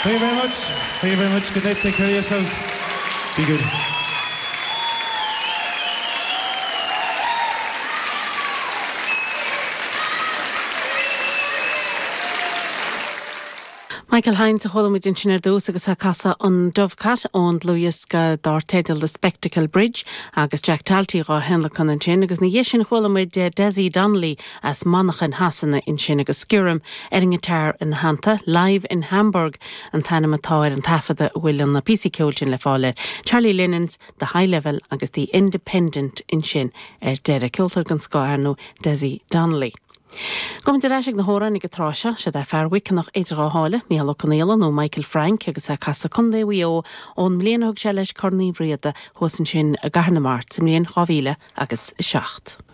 Thank you very much. Thank you very much. Good night. Take care of yourselves. Be good. Michael Hynes a chuala muid ansin ar dtús agus é ag casadh an Dovecot ón dlúthdhiosca dár teideal The Spectacle Bridge agus Jack Talty dhá thionlacan ansin agus ina dhiaidh sin chuala muid Dessie Donnelly as Manchain Shasana ansin agus Sciorm ar an ngiotár ina theannta. Live in Hamburg an t-ainm atá ar an taifeadadh a bhfuil na píosaí ceoil sin le fáil air. Charlie Linnon's The High Level agus The Independent ansin ar deireadh. Ceoltóir den scoth ar ndóigh Dessie Donnelly. Gabhaimid ar ais ag na hamhráin ag an tráth seo. Siod é fear Mhuiceanach idir dhá sháile, Mícheál Ó Conghaile nó Michael Frank agus é ag casadh Contae Mhaigh Eo ón mbliain a thug sé leis Corn Uí Riada thuas ansin i gCathair na Mart sa mbliain 2007.